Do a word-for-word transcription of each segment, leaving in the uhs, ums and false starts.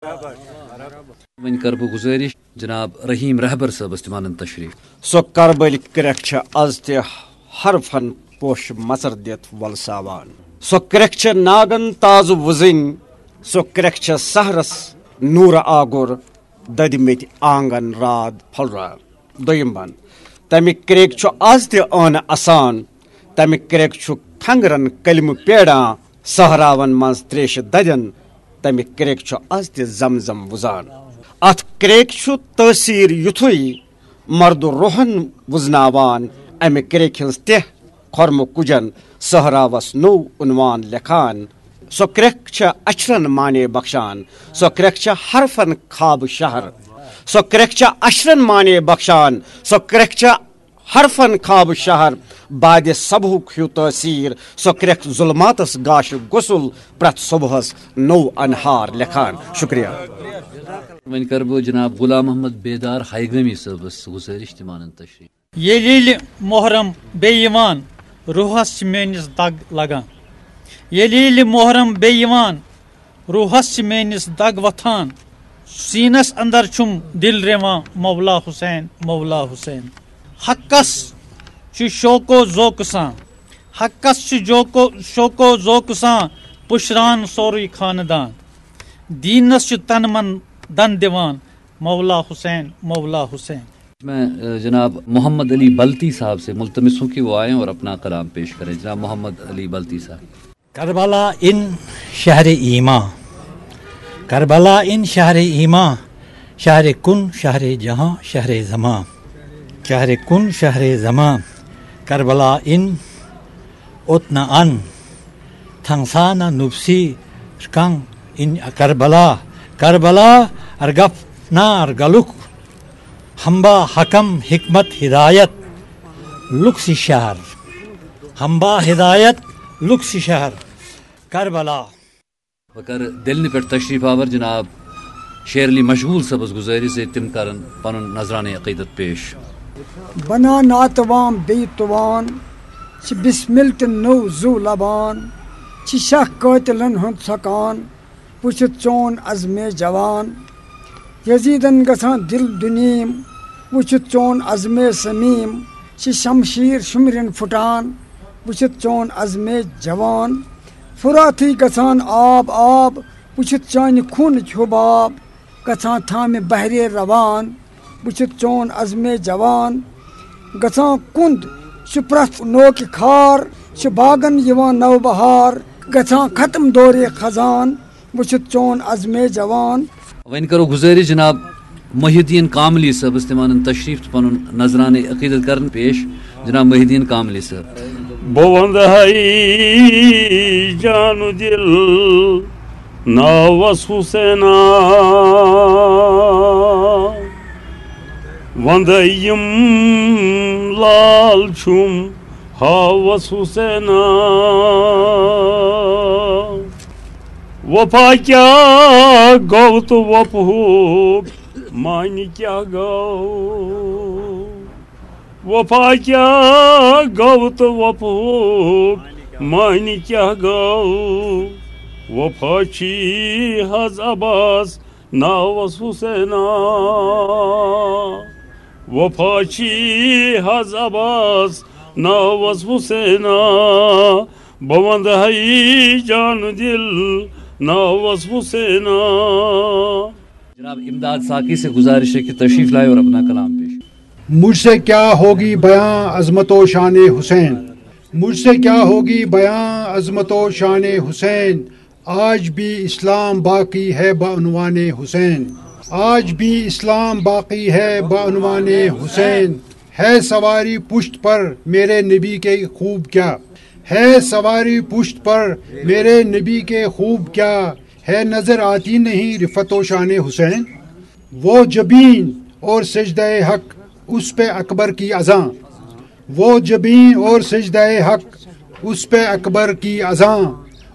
وۄنۍ کرٕ بہٕ گُزٲرِش جناب رحیم رہبر صٲبس تہِ وَنن تشریٖف۔ سۄ کربٕلۍ کرٛٮ۪کھ چھےٚ از تہِ حرفن پوشہٕ مژر دِتھ وۄلساوان۔ سۄ کرٛٮ۪کھ چھےٚ ناگن تازٕ وُزٕنۍ، سۄ کرٛٮ۪کھ چھےٚ سحرس نوٗرٕ آگُر دٔدمٕتۍ آنگن راد پھۄلراوان۔ دوٚیِم بند، تَمہِ کرٛیٚکہِ چھُ از تہِ ٲنہٕ اَسان، تَمہِ کرٛیٚکہِ چھُ کھنٛگرن کلمہٕ پیڑان، صحراون منٛز تریشہِ دَدٮ۪ن، تَمہِ کرٛیٚکہِ چھُ از تہِ زم زم وُزان۔ اَتھ کرٛیٚکہِ چھُ تٲثیٖر یُتھُے مردٕ روحن وُزناوان، اَمہِ کرٛیٚکہِ ہٕنٛز تہِ کھۄرمہٕ کُجن صحراوس نوٚو عنوان لیکھان۔ سۄ کرٛیٚکھ چھےٚ اچھرن معنی بخشان، سۄ کرٛیٚکھ چھےٚ حرفن خواب شہر، سۄ کرٛیٚکھ چھےٚ اچھرن معنی بخشان، سۄ کرٛیٚکھ چھےٚ حرفن خواب شہر، بادِ صبحُک ہیوٗ تٲثیٖر، سۄ کرٛیٚکھ ظلماتس گاشہِ غسل، پرٛٮ۪تھ صبحس نوٚو انہار لیکھان۔ شُکریہ۔ وۄنۍ کرٕ بہٕ جناب غلام محمد بیدار ہایگٲمی صٲبس گُزٲرِش تہِ وَنن تشریٖف۔ ییٚلہِ ییٚلہِ محرم بیٚیہِ یِوان، روحس چھِ میٲنِس دگ لگان۔ ییٚلہِ ییٚلہِ محرم بیٚیہِ یِوان، روحس چھِ میٲنِس دگ وۄتھان۔ سیٖنس اندر چھُم دِل رِوان، مولا حسین، مولا حسین۔ حقس چھُ شوکو ذوقہٕ سان، حقس چھُ جوکو، شوکو ذوقہٕ سان پُشران سورُے خاندان۔ دیٖنس چھُ تن من دن دِوان، مولا حسین، مولا حسین۔ میں، اے، جناب محمد علی بلتی صاحب سے ملتمس ہوں کہ وہ آئیں اور اپنا کلام پیش کریں۔ جناب محمد علی بلتی صاحب۔ کربلا ان شہر ایمان، کربلا ان شہر ایمان، شہر کن، شہر جہاں، شہر زمان۔ شہر کن، شہر زمان۔ کربلا ان اوتنا ان تھنگسانا نوپسی رکان ان کربلا۔ کربلا ارگپ نا ارگلک ہمبا حکم حکمت ہدایت لک سی شہر۔ ہمبا ہدایت لک سی شہر کربلا۔ بہٕ کرٕ دِلنہِ پٮ۪ٹھ تشریف آور جناب شیر علی مشغول صٲبس گُزٲرِش زِ تِم کرن پنُن نذرانہ عقیدت پیش۔ بنا ناتوان بیٚیہِ تُوان، چھِ بسمل تہٕ نٔو زُو لبان، چھِ شاہ قٲتلن ہُنٛد ژھۄکان، وٕچھِتھ چون عزمِ جوان۔ یزیدن گژھان دِل دُنیٖم، وٕچھِتھ چون عزمِ سمیٖم، چھِ شمشیر شُمرٮ۪ن پھُٹان، وٕچھِتھ چون عزمِ جوان۔ فراتٕے گژھان آب آب، وٕچھِتھ چانہِ خوٗنٕچ حُباب، گژھان تھامہِ بحرِ روان، وٕچھِتھ چون عزمِ جوان۔ گژھان کُند چھُ پرٛٮ۪تھ نوکہِ خار، چھُ باغن یِوان نو بہار، گژھان ختم دورِ خزان، وٕچھِتھ چون عزمِ جوان۔ وۄنۍ کرو گُزٲرِش جناب محی الدین کاملی صٲبس تہِ وَنن تشریٖف تہٕ پنُن نذرانہ عقیدت کرن پیش۔ جناب محی الدین کاملی صٲب۔ بہٕ وَندٕ ہے جانہٕ دِل ناوس حُسینا، وَندٕ یِم لال چھُم ہاوس حُسینا۔ وفا کیٛاہ گوٚو تہٕ وفہُک معنی کیٛاہ گوٚو؟ وفا کیٛاہ گوٚو تہٕ وفہُک معنی کیٛاہ گوٚو؟ وفا چھی حظ عباس ناوس حُسینا۔ وفا چھی حظ عباس ناوس حُسینا۔ بہٕ وَندٕ ہے جانہٕ دِل ناوس حُسینا۔ جناب امداد ساقی سے گزارش ہے کہ تشریف لائے اور اپنا کلام پیش۔ مجھ سے کیا ہوگی بیاں عظمت و شان حسین، مجھ سے کیا ہوگی بیاں عظمت و شان حسین، آج بھی اسلام باقی ہے بعنوان حسین، آج بھی اسلام باقی ہے بعنوان حسین۔ ہے سواری پشت پر میرے نبی کے خوب کیا، ہے سواری پشت پر میرے نبی کے خوب کیا، ہے نظر آتی نہیں رفعت و شان حسین۔ وہ جبین اور سجدہ حق، اس پہ اکبر کی اذاں، وہ جبین اور سجدہ حق، اس پہ اکبر کی اذاں،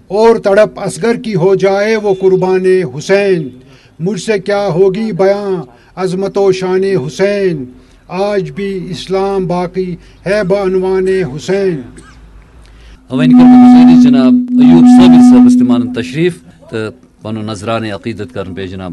اور تڑپ اصغر کی ہو جائے وہ قربان حسین۔ مجھ سے کیا ہوگی بیاں عظمت و شان حسین، آج بھی اسلام باقی ہے بعنوان حسین۔ وۄنۍ کرٕ بہٕ گُزٲرِش جناب ایوب صابر صٲبس تہِ وَنن تشریٖف تہٕ پنُن نذرانہ عقیدت کرن پیش جناب۔